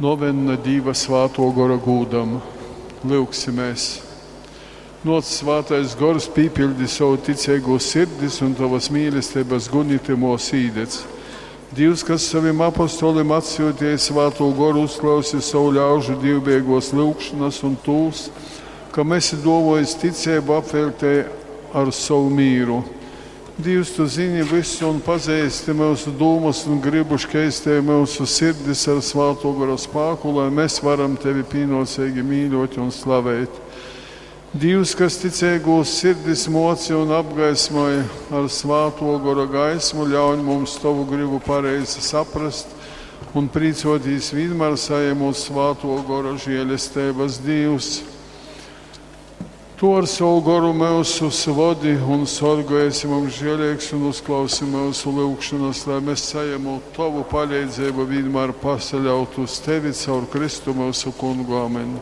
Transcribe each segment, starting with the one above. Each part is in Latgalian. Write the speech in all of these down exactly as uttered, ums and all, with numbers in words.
Novenna Dīva Svātuo Gora gūdam. Lyugsimēs! Nōc, Svātais Gors, pīpiļdi sovu ticeigū sirdis un tovas mīlesteibas guni tymōs īdedz. Dīvs, kas sovim apostolim atsyuteja Svātū Goru, uzklausi sovu ļaužu dīvbejeigōs lyugšonas un tūs, kam esi dōvōjis ticeibu, apveļtej ar sovu mīru. Dīvs, tu zini vysu un pazeisti myusu dūmas un grybu, škeistej myusu sirdis ar Svātō Gora spāku, lai mēs varam tevi pīnōceigi mīļōt un slavēt. Dīvs, kas ticeigūs sirdis moci un apgaismoj ar Svātō Gora gaismu, ļauņ mums tovu gribu pareizi saprast un prīcōtīs vienmēr sajemot Svātō Gora žēlesteibas. Dīvs, tu ar savu goru myusus vodi un sorgoj, esi mums žēlīgs un uzklausi myusu lūgšanas, lai mēs sajemot tovu palīdzību vienmēr pasaļaut uz tevi caur Kristu myusu kungu. Amen.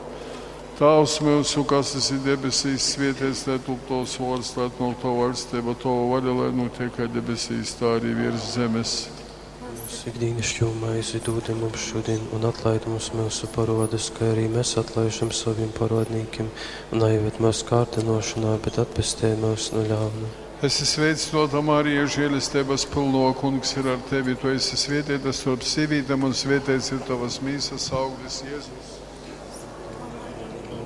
Tēvs myusu, kas esi debesīs, svētīts lai top tavs vārds, lai atnāk tava valstība, tava vaļa, lai notiek kā debesīs, tā arī virs zemes. Mūsu ikdīnišķo maizi dūdi mums šodien, un atlaid mums mūsu parodus, kā arī mēs atlaižam saviem parodnīkiem, un neieved mūsu kārdinošanā, bet atpestī mūs no ļauna. Esi sveicināta, Marija, žēlestības pilno, kungs ir ar tevi, tu esi svētīta starp sīvītēm, un svētīts ir tavas mīsas auglis Jēzus.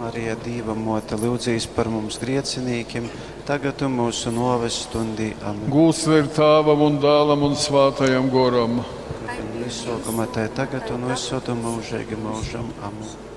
Marija, Dīva mote, lūdzīs par mums griecinīkim, tagad un mūsu noves stundī. Amen. Gūds lai ir Tēvam un Dēlam un Svētajam Goram. Kā bija Iesākumā, tā ir tagad un visur un mūžīgi mūžam. Amen.